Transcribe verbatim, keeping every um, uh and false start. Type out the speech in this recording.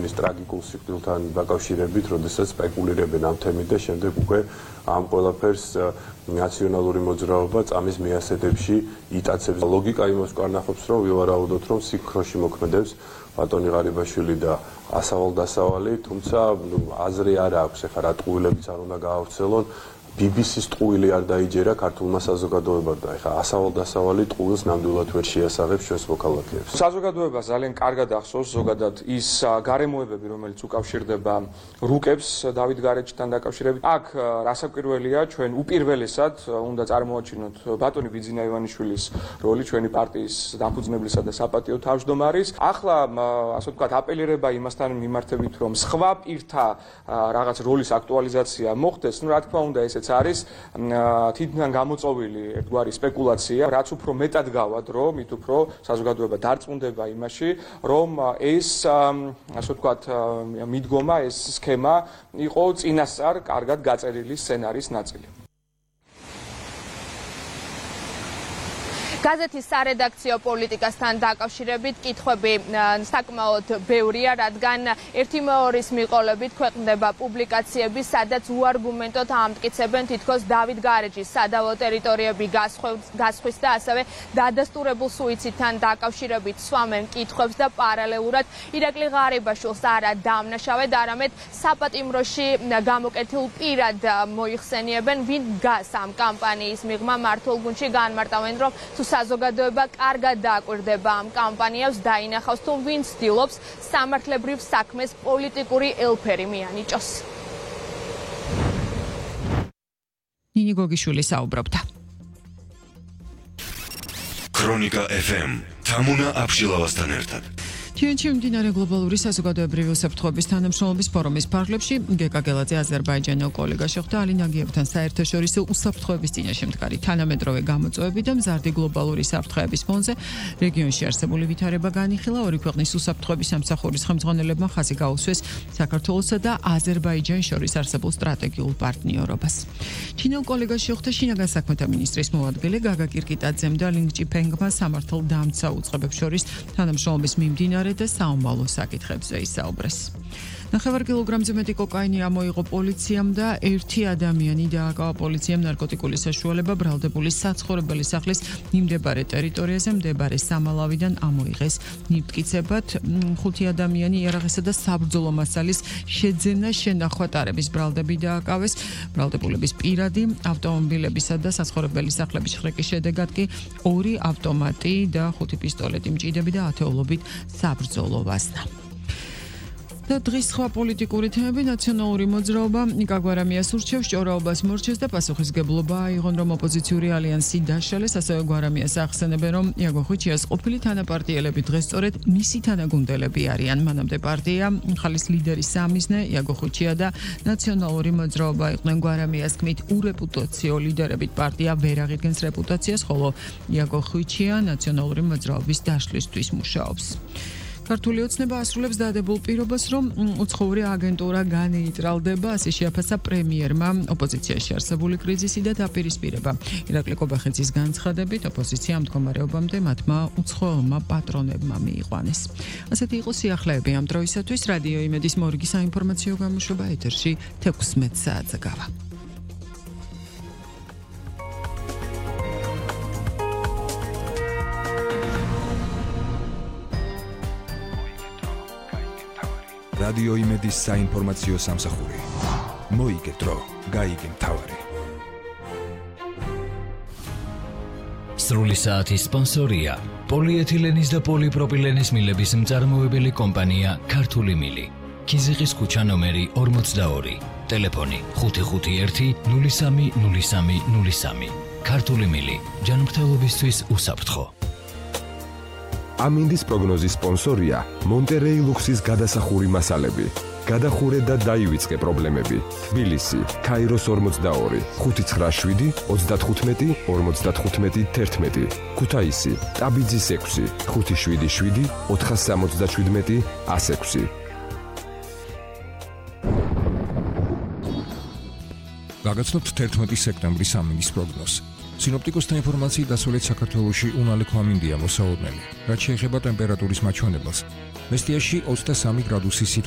ადამიანის ტრაგიკულ სიკვდილთან დაკავშირებით, როდესაც სპეკულირებენ ამ თემით და შემდეგ უკვე ამ ყველაფერს ნაციონალური მოძრაობა წამის მიასედებში იტაცებს. ლოგიკა იმას კარნახობს, რომ ვივარაუდოთ, რომ სიქროში მოქმედებს ბატონი ღარიბაშვილი და ასავალ-დასავალი, თუმცა აზრი არ აქვს, ეხლა რა ტყუილებიც არ უნდა გაავრცელონ. ბი ბი სის ტყუილი არ დაიჯერა ქართულმა საზოგადოებამ და ეხლა ასავალ-დასავალი ტყუილს ნამდვილად ვერ შეასაღებს ჩვენს მოქალაქეებს. საზოგადოება ძალიან კარგად ახსოვს ზოგადად ის გარემოებები, რომელიც უკავშირდება რუკებს დავით გარეჯთან დაკავშირებით. აქ რასაკვირველია, ჩვენ უპირველესად უნდა წარმოაჩინოთ ბატონი ბიძინა ივანიშვილის როლი ჩვენი პარტიის დამფუძნებლისა და საპატიო თავმჯდომარის. ახლა ასე ვთქვათ, აპელირება იმასთან მიმართებით, რომ სხვა პირთა რაღაც როლის აქტუალიზაცია მოხდეს, ну რა თქმა უნდა ესეც არის თითქმის გამოწოვილი ერთგვარი სპეკულაცია, რაც უფრო მეტად გავა დრო, მით უფრო საზოგადოება დარწმუნდება იმაში, რომ ეს ასე ვთქვათ მიდგომა, ეს სქემა იყო წინასწარ კარგად გაწერილი სცენარის ნაწილი. გაზეთის სარედაქციო პოლიტიკასთან დაკავშირებით კითხვები საკმაოდ ბევრია, რადგან ერთი მეორის მიყოლებით ქვეყნდება პუბლიკაციები, სადაც უარგუმენტოდ ამტკიცებენ თითქოს დავით გარეჯის სადავო ტერიტორიები გასხვის და ასევე დადასტურებულ სუიციდთან დაკავშირებით სვამენ კითხვებს და პარალელურად ირაკლი ღარიბაშვილს არა დამნაშავედ, არამედ საპატიმროში გამოკეთილ პირად მოიხსენიებენ, ვინ დგას ამ კამპანიის მიღმა. მართულ გუნდში განმარტავენ, რომ საზოგადოება კარგად დააკვირდება ამ კამპანიებს, დაინახავს თუ ვინ ცდილობს სამართლებრივ საქმეს პოლიტიკური ელფერი მიანიჭოს. ნინი გოგიშვილი საუბრობდა. ქრონიკა ეფ ემ თამუნა აბშილავასთან ერთად. თიანეთში მიმდინარე გლობალური საზოგადოებრივი უსაფრთხოების თანამშრომლობის ფორუმის ფარგლებში გეკა გელაძე აზერბაიჯანელ კოლეგა შეხვდა ალი ნაგიევთან საერთაშორისო უსაფრთხოების წინაშე მდგარი თანამედროვე გამოწვევები და მზარდი გლობალური საფრთხეების ფონზე რეგიონში არსებული ვითარება განიხილა. ორი ქვეყნის უსაფრთხოების სამსახურის ხელმძღვანელებმა ხაზი გაუსვეს საქართველოსა და აზერბაიჯანს შორის არსებულ სტრატეგიულ პარტნიორობას. ჩინელ კოლეგას შეხვდა შინაგან საქმეთა მინისტრის მოადგილე გაგა კირკიტაძემ და ლინგ ჭიფენგმა სამართალდამცავ უწყებებს შორის თანამშრომლობის მიმდინარე და საომალო საკითხებზე ისაუბრეს. ნახევარ კილოგრამზე მეტი კოკაინი ამოიღო პოლიციამ და ერთი ადამიანი დააკავა პოლიციამ ნარკოტიკული საშუალება ბრალდებული საცხოვრებელი სახლის მიმდებარე ტერიტორიაზე მდებარე სამალავიდან ამოიღეს. ნივთკიცებად ხუთი ადამიანი იარაღისა და საბრძოლო მასალის შეძენა შენახვა ტარების ბრალდები დააკავეს. ბრალდებულების პირადი ავტომობილებისა და საცხოვრებელი სახლების შხრიკის შედეგად კი ორი ავტომატი და ხუთი პისტოლეტი მჭიდები და ათეულობით საბრძოლო ვაზნა. და დღის სხვა პოლიტიკური თემები. ნაციონალური მოძრაობა ნიკა გვარამიას ურჩევს ჭორაობას მორჩეს და პასუხისგებლობა აიღონ, რომ ოპოზიციური ალიანსი დაშალეს. ასევე გვარამიას ახსენებენ, რომ იაგო ხვიჩიას ყოფილი თანაპარტიელები დღეს სწორედ მისი თანაგუნდელები არიან. მანამდე პარტია ხალის ლიდერი სამიზნე იაგო ხვიჩია და ნაციონალური მოძრაობა იყვნენ გვარამიას თქმით ურეპუტაციო ლიდერებით. პარტია ვერ აღიდგენს რეპუტაციას, ხოლო იაგო ხვიჩია ნაციონალური მოძრაობის დაშლისთვის მუშაობს. ქართული ოცნება ასრულებს დადებულ პირობას, რომ უცხოური აგენტურა განეიტრალდება, ასე შეაფასა პრემიერმა ოპოზიციაში არსებული კრიზისი და დაპირისპირება. ირაკლი კობახიძის განცხადებით, ოპოზიცია ამ მდგომარეობამდე მათმა უცხოელმა პატრონებმა მიიყვანეს. ასეთი იყო სიახლეები ამ დროისათვის. რადიო იმედის მორიგი საინფორმაციო გამოშვება ეთერში თექვსმეტ საათზე გავა. რადიო იმედის საინფორმაციო სამსახური. მოიგე დრო, გაიგე მთავარი. სრული საათის სპონსორია პოლიეთილენის და პოლიპროპილენის მილების მწარმოებელი კომპანია ქართული მილი. ქიზიყის ქუჩა ნომერი ორმოცდაორი. ტელეფონი ხუთი ხუთი ერთი ნული სამი ნული სამი ნული სამი. ქართული მილი. ჯანმრთელობისთვის უსაფრთხო. ამინდის პროგნოზის სპონსორია მონტერეი ლუქსის გადასახური მასალები. გადახურე და დაივიწყე პრობლემები. თბილისი, ქაიროს ორმოცდაორი, ხუთი ცხრა შვიდი ოცდათხუთმეტი ორმოცდათხუთმეტი თერთმეტი. ქუთაისი, ტაბიძის ექვსი, ხუთი შვიდი შვიდი ოთხასამოცდაშვიდმეტი ასექვსი. გაგაცნობთ თერთმეტი სექტემბრის ამინდის პროგნოზს. სინოპტიკოსთა ინფორმაციით დასავლეთ საქართველოში უნალექო ამინდია მოსაოდნელი. რაც შეეხება ტემპერატურის მაჩვენებელს, მესტიაში ოცდასამი გრადუსი სითბო